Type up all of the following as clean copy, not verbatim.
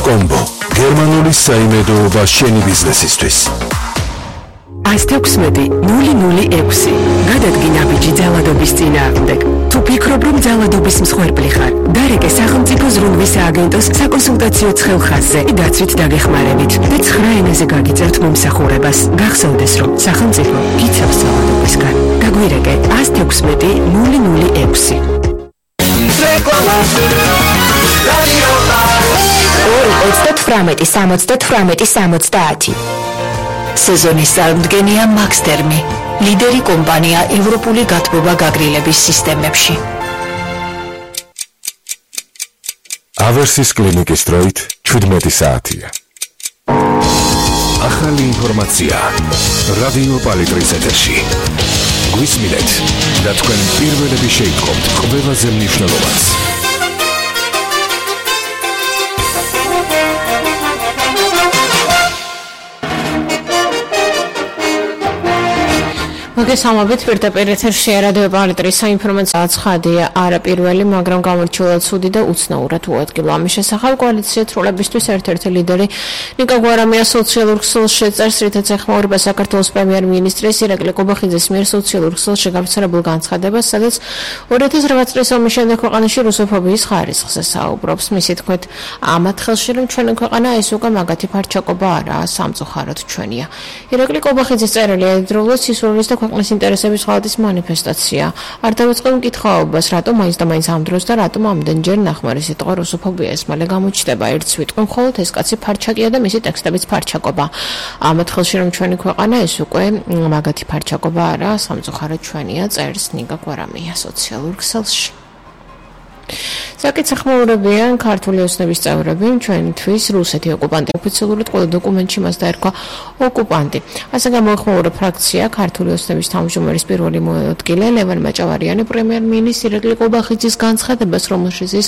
კომბო გერმანული საიმედოობა შენი ბიზნესისთვის 116-006 გადადგინა ბიჭი ძალადობის წინააღმდეგ. თუ ფიქრობ, რომ ძალადობის მსხვერპლი ხარ, დარეკე სახელმწიფო ზრუნვის სააგენტოს საკონსულტაციო ცხელხაზზე დაცვით დაგეხმარებით და 9 ენაზე გაგიწევთ მომსახურებას. გახსოვდეს, რომ სახელმწიფო გიცავს ძალადობისგან. გაგვირეკე 116-006. რეკლამა 2-38-70-70. სეზონის წარმომადგენელია მაქსტერმი, ლიდერი კომპანია ევროპული გათბობა გაგრილების სისტემებში. ავერსის კლინიკის დროით 17 საათია. ახალი ინფორმაცია რადიო პალიტრის ეთერში. გვისმინეთ და თქვენ პირველები შეიტყობთ ყველაზე მნიშვნელოვანს. მოგესალმებით პირდაპირ ეთერში რადიო პალიტრის საინფორმაციო ცხადია არა პირველი, მაგრამ გამორჩეულად ცუდი და უცნაურად უადგილო. ამის შესახებ კოალიცია თრულებისთვის ერთ-ერთი ლიდერი ნიკა გვარამია სოციალურ ქსელს შეწერს, რითაც ეხმაურება საქართველოს პრემიერ-მინისტრის ირაკლი კობახიძის მიერ სოციალურ ქსელში გავრცელებულ განცხადებას, სადაც 2008 წლის ომის შემდეგ ქვეყანაში რუსოფობიის ხარისხზე საუბრობს. მისი თქმით, ამათ ხელში რომ ჩვენი ქვეყანა ეს უკვე მაგათი ფარჩაკობა არაა, სამწუხაროდ ჩვენია. ირაკლი კობახიძის წერილი ერთდროულად სისულრის და ქვეყნის ინტერესების ღალატის მანიფესტაცია. არ დავიწყებ მკითხაობას, რატომ მაინც და მაინც ამ დროს და რატომ ამდენჯერ ნახმარი სიტყვა რუსოფობია ეს მალე გამოჩნდება. ერთს ვიტყვი, მხოლოდ ეს კაცი ფარჩაკია და მისი ტექსტებიც ფარჩაკობა. ამათ ხელში რომ ჩვენი ქვეყანა ეს უკვე მაგათი ფარჩაკობა არა, სამწუხაროდ ჩვენია, წერს ნიკა გვარამია სოციალურ ქსელში. საკითხმოურებიან ქართული ოცნების წევრები ჩვენთვის რუსეთი ოკუპანტი ოფიციალურად ყველა დოკუმენტში მას დაერქვა ოკუპანტი. ასე გამოეხმაურა ფრაქცია ქართული ოცნების თავმჯდომარის პირველი მოადგილე ლევან მაჭავარიანი პრემიერ-მინისტრის ირაკლი კობახიძის განცხადებას, რომელშიც ის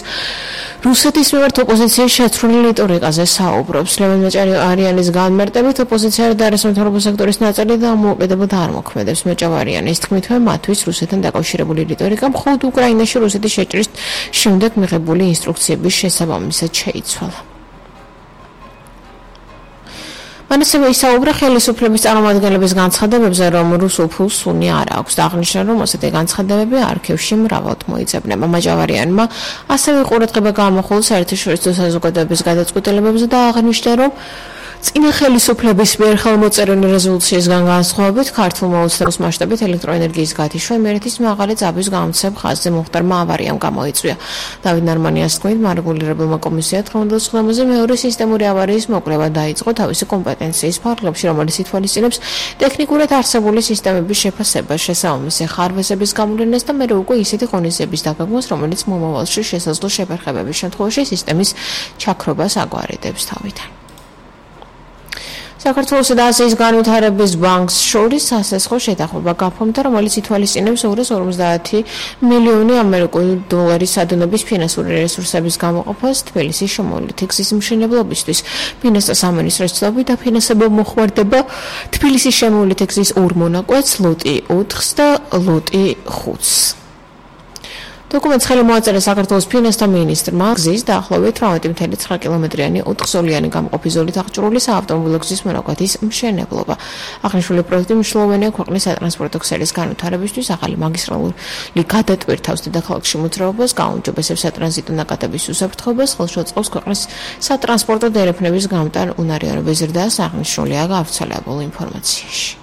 რუსეთის მიმართ ოპოზიციის შეცვლილი რიტორიკაზე საუბრობს. ლევან მაჭავარიანის განმარტებით ოპოზიცია და არასამთავრობო სექტორის ნაწილი დამოუკიდებლად არ მოქმედებს. მაჭავარიანის თქმით, მათთვის რუსეთთან დაკავშირებული რიტორიკა მხოლოდ უკრაინაში რუსეთის შეჭრის შემდეგ მიღებული ინსტრუქციების შესაბამისად შეიცვალა. მან ასევე ისაუბრა ხელისუფლების წარმომადგენლების განცხადებებზე, რომ რუსულ ფულს უნი არ აქვს და აღნიშნა, რომ ასეთი განცხადებები არქივში მრავლად მოიძებნება. მაჭავარიანმა ასევე ყურადღება გაამახვილა საერთაშორისო საზოგადოების გადაწყვეტილებებზე და აღნიშნა, რომ წინა ხელისუფლების მიერ ხელმოწერილი რეზოლუციისგან განსხვავებით ქართულმა ოცნების მასშტაბით ელექტროენერგიის გათიშვა იმერეთის მაღალი ძაბვის გამოცემ ხაზზე მომხდარმა ავარიამ გამოიწვია. დავით ნარმანიას თქმით, მარეგულირებელმა კომისიამ 19 წლამდე მეორე სისტემური ავარიის მოკვლევა დაიწყო თავისი კომპეტენციის ფარგლებში, რომელიც ითვალისწინებს ტექნიკურად არსებული სისტემების შეფასებას, შესაბამისი ხარვეზების გამოვლენას და მერე უკვე ისეთი ღონისძიების დაგეგმვას, რომელიც მომავალში შესაძლო შეფერხებების შემთხვევაში სისტემის ჩაქრობას აგვარიდებს თავიდან. საქართველოსა და აზიის განვითარების ბანკს შორის სასესხო შეთანხმება გაფორმდა, რომელიც ითვალისწინებს 250 მილიონი ამერიკული დოლარის ადონების ფინანსური რესურსების გამოყოფას თბილისის შემოვლითი გზის მშენებლობისთვის. ფინანსთა სამინისტროს ცნობით დაფინანსება მოხმარდება თბილისის შემოვლითი გზის 2 მონაკვეთს, ლოტი 4-ს და ლოტი 5-ს. დოკუმენტს ხელი მოაწერა საქართველოს ფინანსთა მინისტრმა გზის დაახლოებით 18.9 კილომეტრიანი 4-სოლიანი გამყოფი ზოლით აღჭურვილი საავტომობილო გზის მონაკვეთის მშენებლობა. აღნიშნული პროექტი მნიშვნელოვანია ქვეყნის სატრანსპორტო ქსელის განვითარებისთვის, ახალი მაგისტრალური გადატვირთავს დედაქალაქში მოძრაობას, გაუმჯობესებს სატრანზიტო ნაკადების უსაფრთხოებას, ხელშეუწყობს ქვეყნის სატრანსპორტო დერეფნების გამტარ უნარიანობის ზრდას, აღნიშნულია გავრცელებულ ინფორმაციაში.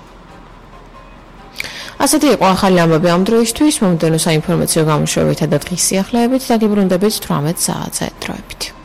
ასეთი იყო ახალი ამბები ამ დროისთვის, მომდევნო საინფორმაციო გამოშვებათა და დღის სიახლეებით დაგიბრუნდებით 18 საათზე დროებით.